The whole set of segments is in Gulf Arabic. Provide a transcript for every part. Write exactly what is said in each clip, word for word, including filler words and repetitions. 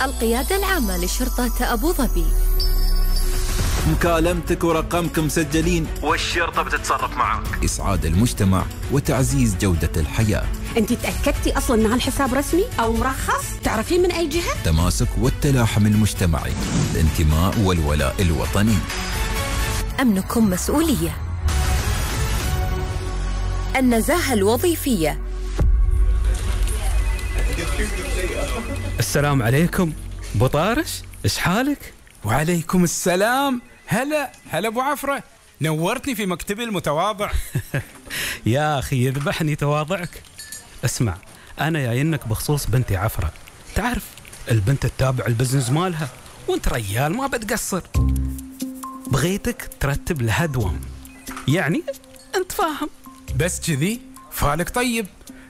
القيادة العامة لشرطة أبو ظبي. مكالمتك ورقمك مسجلين والشرطة بتتصرف معك. إسعاد المجتمع وتعزيز جودة الحياة. أنت تأكدتي أصلاً أن هالحساب رسمي أو مرخص؟ تعرفين من أي جهة؟ تماسك والتلاحم المجتمعي، الانتماء والولاء الوطني. أمنكم مسؤولية. النزاهة الوظيفية. السلام عليكم ابو طارش، ايش حالك؟ وعليكم السلام. هلا هلا ابو عفرة، نورتني في مكتبي المتواضع. يا اخي يذبحني تواضعك. اسمع، انا جاينك بخصوص بنتي عفرة. تعرف البنت تتابع البزنس مالها وانت ريال ما بتقصر. بغيتك ترتب لها دوام، يعني انت فاهم. بس كذي فالك طيب،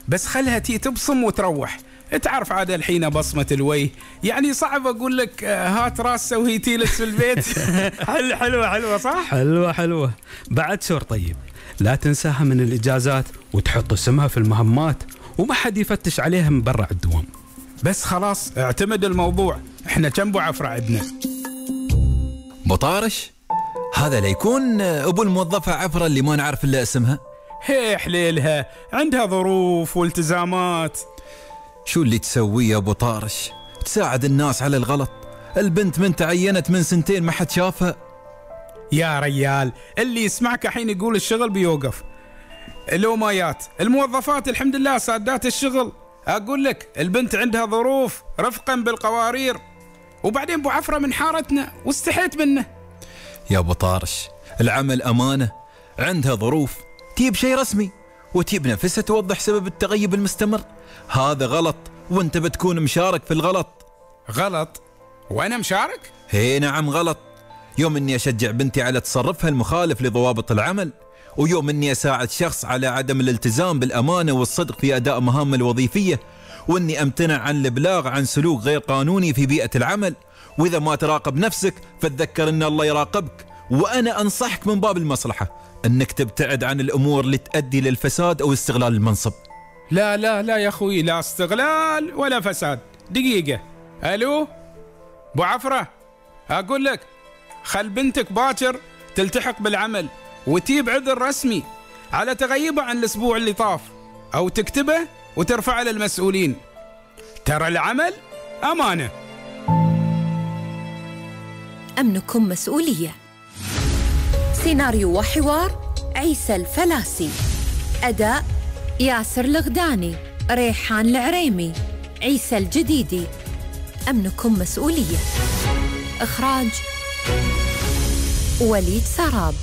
بس خلها تي تبصم وتروح. تعرف عاد الحين بصمة الوجه، يعني صعب أقول لك هات راسه وهي تيلس في البيت. حلوة حلوة حلوة صح؟ حلوة حلوة. بعد شور طيب، لا تنساها من الإجازات وتحط اسمها في المهمات وما حد يفتش عليها من برا الدوام. بس خلاص اعتمد الموضوع، احنا كم بو عفرة عندنا. بطارش هذا ليكون أبو الموظفة عفرة اللي ما نعرف إلا اسمها. هي حليلها عندها ظروف والتزامات. شو اللي تسويه يا ابو طارش؟ تساعد الناس على الغلط. البنت من تعينت من سنتين ما حد شافها. يا ريال اللي يسمعك الحين يقول الشغل بيوقف. لو مايات الموظفات الحمد لله سادات الشغل. اقول لك البنت عندها ظروف رفقا بالقوارير، وبعدين ابو عفرة من حارتنا واستحيت منه. يا ابو طارش العمل امانه، عندها ظروف تجيب شيء رسمي وتجيب نفسها توضح سبب التغيب المستمر. هذا غلط وانت بتكون مشارك في الغلط. غلط؟ وانا مشارك؟ هي نعم غلط. يوم اني اشجع بنتي على تصرفها المخالف لضوابط العمل، ويوم اني اساعد شخص على عدم الالتزام بالامانه والصدق في اداء مهامه الوظيفيه، واني امتنع عن الابلاغ عن سلوك غير قانوني في بيئه العمل. واذا ما تراقب نفسك فتذكر ان الله يراقبك. وانا انصحك من باب المصلحه انك تبتعد عن الامور اللي تؤدي للفساد او استغلال المنصب. لا لا لا يا اخوي، لا استغلال ولا فساد. دقيقه، الو ابو عفرة، اقول لك خل بنتك باكر تلتحق بالعمل وتجيب عذر رسمي على تغيبها عن الاسبوع اللي طاف، او تكتبه وترفعه للمسؤولين. ترى العمل امانه. أمنكم مسؤولية. سيناريو وحوار عيسى الفلاسي. أداء ياسر الغداني، ريحان العريمي، عيسى الجديدي. أمنكم مسؤولية. إخراج وليد سراب.